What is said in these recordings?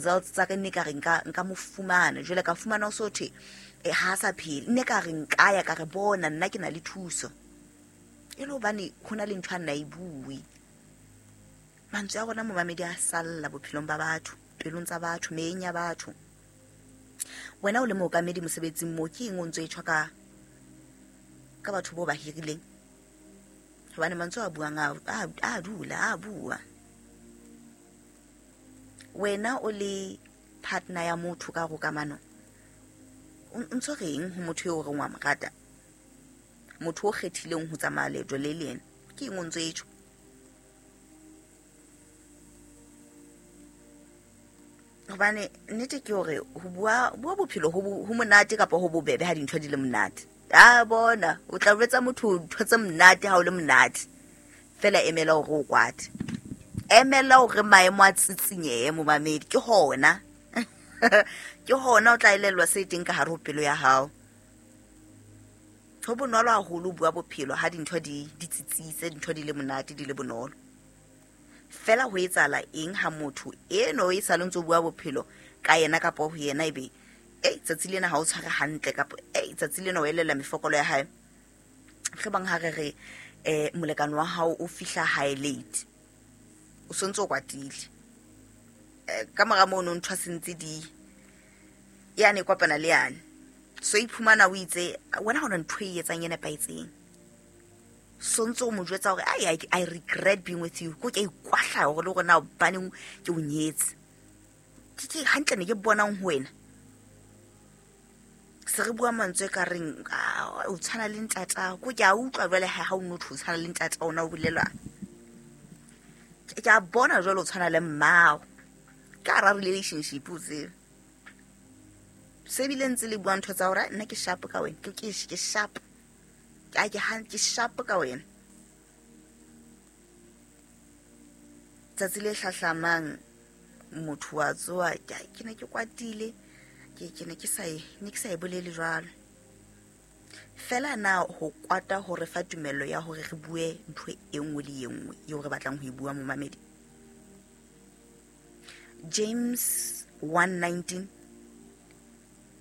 Results tsa ka nne ka re nka mo fumana, jwale ka fumana o so thwe ha sa phele, nne ka re nka ya ka re bona nna ke na le thuso. E le hobane ho na le ntho a nna e bue. Mantswe a rona momamedi a salla bophelong ba batho, pelong tsa batho, meyeng ya batho. Wena o le mookamedi mosebetsing moo, ke eng o ntso e tjho ka batho bo ba hirileng? Hobane mantswe a buang a dula, a bua. Wena o le partner ya motho ka hare ho kamano, o ntso reng ho motho eo o reng wa mo rata? Motho o kgethileng ho tsamaya leeto le le yena, ke eng o ntso e tjho? Hobane nnete ke hore ho bua bophelo ho monate kapa ho bobebe ha dintho di le monate. A bona, o tla jwetsa motho ntho tse monate ha o le monate. Fela emela hore o kwate. Emela hore maemo a tsitsinyehe momamedi, ke hona. Ke hona o tla elellwa se teng ka hare ho pelo ya hao. Ho bonolo haholo ho bua bophelo ha dintho di tsitsitse, dintho di le monate, di le bonolo. Fela ho etsahala eng ha motho eno e sa le ntso bua bophelo ka yena kapa ho yena ebe, ei, tsatsi lena ha o tshware hantle kapa, ei, tsatsi lena o elella mefokolo ya hae. Re bang ha re re, molekane wa hao o fihla hae late, o sontso o kwatile. Ka mora mono ntho a sentse di yane e kopana le yane. So iphumana o itse wena ha ona ntho e etsang e nepahetseng. Sontso o mo jwetsa hore, ai, I regret being with you. Ko ke a ikwahlaya hore le hore na hobaneng ke o nyetse. Ke hantle ne ke bonang ho wena. Se re bua mantswe ka reng, o tshwana le ntatao. Ko ke a utlwa jwale ha o no thwe o tshwana le ntatao, ona o bolelwa. Ke a bona jwale o tshwana le mmao. Ka hara relationship o tsebe. Se bile ntse le bua ntho tsa hore, nna ke sharp ka wena. Ke sharp. Ke a, ke han, ke sharp ka wena. Tsatsi le hlahlamang motho wa tsoha, ke ne ke kwatile, ke ne ke sa e, ne ke sa e bolele jwalo. Fela na ho kwata ho re fa tumello ya hore re bue ntho e nngwe le e nngwe eo re batlang ho e bua momamedi? James 1:19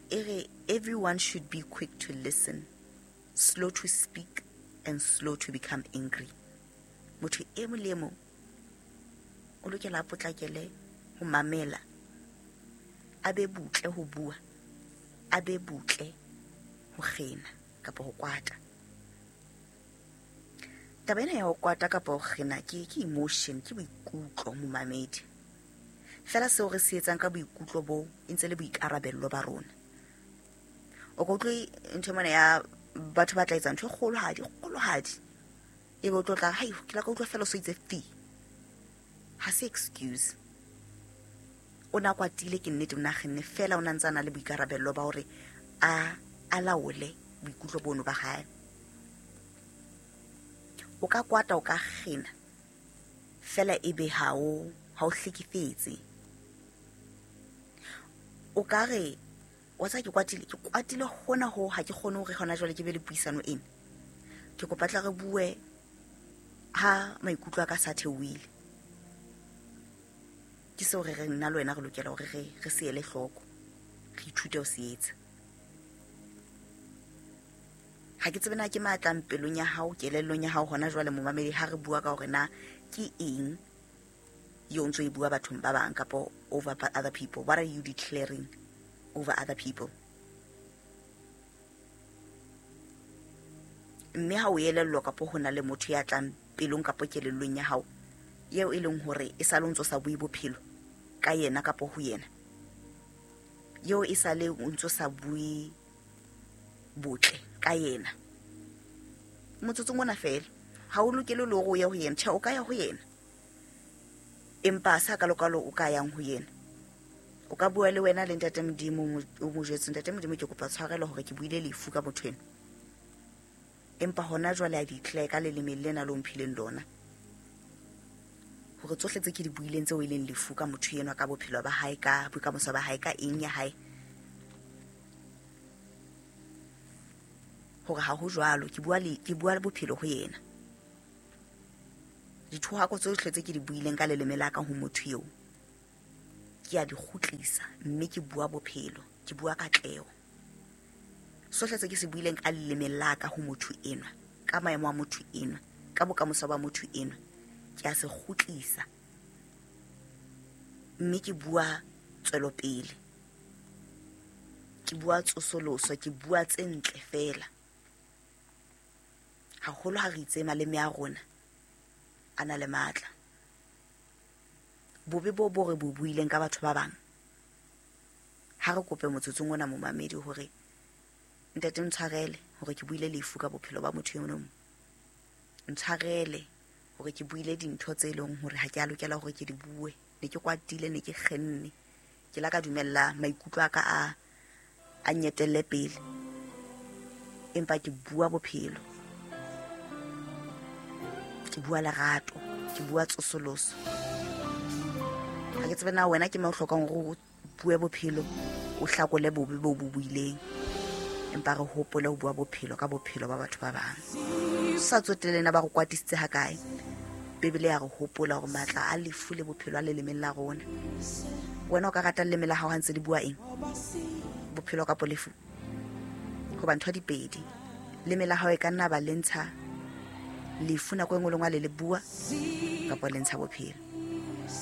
e re everyone should be quick to listen, slow to speak and slow to become angry. Motho e mong le e mong o lokela a potlakele ho mamela, a be butle ho bua, a be butle ho kgena kapa ho kwata. Taba ena ya ho kwata kapa ho kgena ke emotion, ke boikutlo momamedi. Fela seo re se etsang ka boikutlo bo e ntse le boikarabello ba rona. O ka utlwe ntho mona ya batho ba tla etsa ntho e kgolohadi, kgolohadi. Ebe o tlo tla, hai, ke la ka utlwa fela o so itse fi. Ha se excuse. O na kwatile ke nnete, o na kgenne fela o na ntse a na le boikarabello ba hore a laole boikutlo bono ba hae. O ka kwata, o ka kgena, fela ebe ha o hlekefetse. O ka re, wa tseba ke kwatile, ke kwatile hona hoo ha ke kgone hore hona jwale ke be le puisano ena. Ke kopa tla re bue ha maikutlo a ka sa theohile. Ke seo re reng nna le wena re lokela hore re se ele hloko, re ithute ho se etsa. Ha ke tsebe na ke matlang pelong ya hao, kelellong ya hao hona jwale momamedi, ha re bua ka hore na ke eng eo ntso e bua bathong ba bang kapa over other people. What are you declaring over other people? Mme ha o elellwa kapa ho na le motho ya tlang pelong kapa kelellong ya hao eo e leng hore e sale o ntso sa bue bophelo ka yena kapa ho yena, eo e sale o ntso sa bue botle ka yena, motsotsong ona fela ha o lokele le hore o ye ho yena. Tjhe, o ka ya ho yena, empa ha se hakalokalo o ka yang ho yena. O ka bua le wena le Ntate Modimo, o mo jwetse, Ntate Modimo, ke kopa tshwarelo hore ke buile lefu ka motho ena, empa hona jwale a declare ka leleme lena le o mphileng lona hore tsohle tse ke di buileng tseo e leng lefu ka motho enwa, ka bophelo ba hae, ka bokamoso ba hae, ka eng ya hae, hore ha ho jwalo. Ke bua le, ke bua le bophelo ho yena. Dithohako tsohle tse ke di buileng ka leleme la ka ho motho eo, Ke a di kgutlisa mme ke bua bophelo, ke bua katleho. Sohle se ke se buileng ka leleme la ka ho motho enwa, ka maemo a motho enwa, ka bokamoso ba motho enwa, ke a se kgutlisa mme ke bua tswelopele, ke bua tsosoloso, ke bua tse ntle feela. Haholo ha re itse maleme a rona a na le matla. Bobe bo bo re bo buileng ka batho ba bang, ha re kope motsotsong ona momamedi hore ntate ntshwarele hore ke buile lefu ka bophelo ba motho eno, ntshwarele hore ke buile dintho tse leng hore ha ke a lokela hore ke di bue, ne ke kwatile, ne ke kgenne, ke la ka dumella maikutlo a ka a nyetelle pele, empa ke bua bophelo, ke bua lerato, ke bua tsosoloso. Ha ke tsebe na wena ke mang o hlokang hore o bue bophelo, o hlakole bobe bo bo buileng, empa re hopole ho bua bophelo ka bophelo ba batho ba bang. Sa tsotelle na ba re kwatisitse ha kae, Bibele ya re hopola hore matla a lefu le bophelo a lelemeng la rona. Wena o ka rata leleme la hao ha ntse le bua eng? Bophelo kapo lefu? Hoba ntho di pedi. Leme la hao e ka nna ba le ntsha lefu nako e nngwe le nngwe le le bua, kapa le ntsha bophelo.